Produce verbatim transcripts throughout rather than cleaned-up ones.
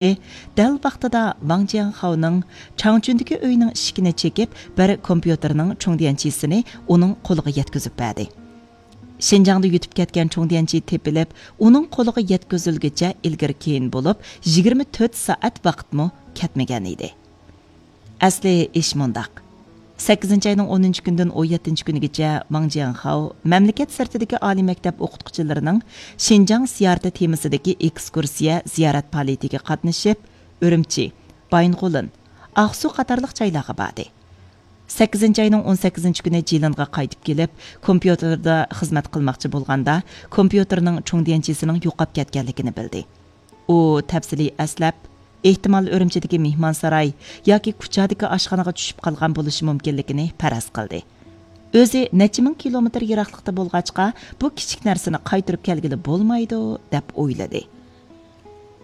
دەل ۋاقتىدا ۋاڭ جياڭخاۋنىڭ چاڭچۈندىكى ئۆيىنىڭ ئىشىكىنى چېكىپ، بىر كومپيۇتېرنىڭ چۇڭديەنچىسىنى ئۇنىڭ قولىغا يەتكۈزۈپ بەردى. شىنجاڭدا يۈتۈپ كەتكەن چۇڭديەنچى تېپىلىپ، ئۇنىڭ قولىغا يەتكۈزۈلگۈچە ئىلگىرى-كېيىن بولۇپ، يىگىرمە تۆت سائەت ۋاقىتمۇ كەتمىگەن ئىدى. ئەسلى ئىش مۇنداق. سەككىزىنچى ئاينىڭ ئونىنچى كۈنىدىن ئون يەتتىنچى كۈنىگىچە ۋاڭ جياڭخاۋ مەملىكەت سىرتىدىكى ئالىي مەكتەپ ئوقۇتقۇچىلىرىنىڭ شىنجاڭ زىيارىتى تېمىسىدىكى ئېكسكۇرسىيە زىيارەت پائالىيىتىگە قاتنىشىپ، ئۈرۈمچى، بايىنغولىن، ئاقسۇ قاتارلىق جايلارغا باردى. سەككىزىنچى ئاينىڭ ئون سەككىزىنچى كۈنى جىلىنغا قايتىپ كېلىپ، كومپيۇتېردا خىزمەت قىلماقچى بولغاندا، كومپيۇتېرنىڭ چۇڭديەنچىسىنىڭ يوقاپ كەتكەنلىكىنى بىلدى. ئۇ تەپسىلىي ئەسلەپ، ئېھتىمال ئۈرۈمچىدىكى مېھمانساراي ياكى كۇچادىكى ئاشخانىغا چۈشۈپ قالغان بولۇشى مۇمكىنلىكىنى پەرەز قىلدى. ئۆزى نەچچە مىڭ كىلومېتىر يىراقلىقتا بولغاچقا، بۇ كىچىك نەرسىنى قايتۇرۇپ كەلگىلى بولمايدۇ، دەپ ئويلىدى.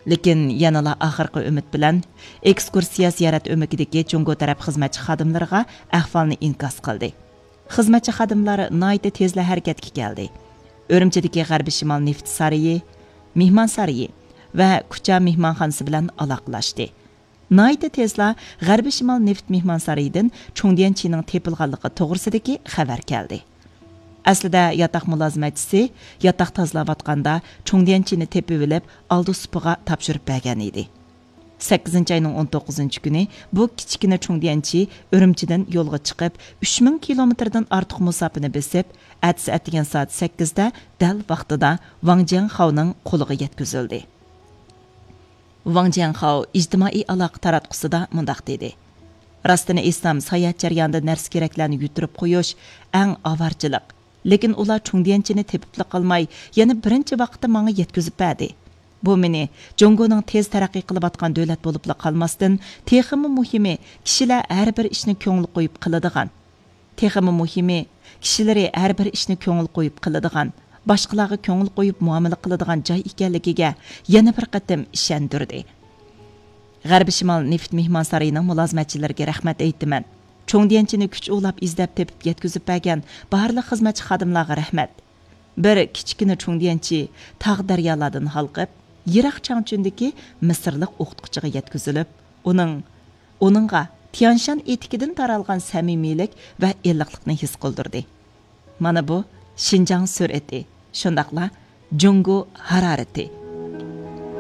لېكىن يەنىلا ئاخىرقى ئۈمىد بىلەن ئېكسكۇرسىيە زىيارەت ئۆمىكىدىكى جۇڭگو تەرەپ خىزمەتچى خادىملىرىغا ئەھۋالنى ئىنكاس قىلدى. خىزمەتچى خادىملار ناھايىتى تېزلا ھەرىكەتكە كەلدى. ئۈرۈمچىدىكى غەربىي شىمال نېفىت سارىيى، مېھمانسارىيى ۋە كۇچا مېھمانخانىسى بىلەن ئالاقىلاشتى. ناھايىتى تېزلا غەربىي شىمال نېفىت مېھمانسارىيىدىن چۇڭديەنچىنىڭ تېپىلغانلىقى توغرىسىدىكى خەۋەر كەلدى. ئەسلىدە ياتاق مۇلازىمەتچىسى ياتاق تازىلاۋاتقاندا چۇڭديەنچىنى تېپىۋېلىپ، ئالدى سۇپىغا تاپشۇرۇپ بەرگەن ئىدى. سەككىزىنچى ئاينىڭ ئون توققۇزىنچى كۈنى بۇ كىچىككىنە چۇڭديەنچى ئۈرۈمچىدىن يولغا چىقىپ، ئۈچ مىڭ كىلومېتىردىن ئارتۇق مۇساپىنى بېسىپ، ئەتىسى ئەتىگەن سائەت سەككىزدە دەل ۋاقتىدا ۋاڭ جياڭخاۋنىڭ قولىغا يەتكۈزۈلدى. ۋاڭ جياڭخاۋ ئىجتىمائىي ئالاقە تاراتقۇسىدا مۇنداق دېدى: راستىنى ئېيتسام، ساياھەت جەريانىدا نەرسە-كېرەكلەرنى يۈتتۈرۈپ قويۇش ئەڭ ئاۋارىچىلىق. لېكىن ئۇلار چۇڭديەنچىنى تېپىپلا قالماي، يەنە بىرىنچى ۋاقىتتا ماڭا يەتكۈزۈپ بەردى. بۇ مېنى جۇڭگونىڭ تېز تەرەققىي قىلىۋاتقان دۆلەت بولۇپلا قالماستىن، تېخىمۇ مۇھىمى، كىشىلەر ھەر بىر ئىشنى كۆڭۈل قويۇپ قىلىدىغان، تېخىمۇ مۇھىمى، كىشىلىرى ھەر بىر ئىشنى كۆڭۈل قويۇپ قىلىدىغان، باشقىلارغا كۆڭۈل قويۇپ مۇئامىلە قىلىدىغان جاي ئىكەنلىكىگە يەنە بىر قېتىم ئىشەندۈردى. غەربىي شىمال نېفىت مېھمانسارىيىنىڭ مۇلازىمەتچىلىرىگە رەھمەت ئېيتىمەن. چۇڭديەنچىنى كۈچ ئۇلاپ ئىزدەپ تېپىپ يەتكۈزۈپ بەرگەن بارلىق خىزمەتچى خادىملارغا رەھمەت. بىر كىچىككىنە چۇڭديەنچى تاغ دەريالاردىن ھالقىپ، يىراق چاڭچۈندىكى مىسىرلىق ئوقۇتقۇچىغا يەتكۈزۈلۈپ، ئۇنىڭ، ئۇنىڭغا تيانشان ئېتىكىدىن تارالغان سەمىمىيلىك ۋە ئىللىقلىقنى ھېس قىلدۇردى. مانا بۇ شىنجاڭ سۈرئىتى، شۇنداقلا جۇڭگو ھارارىتى.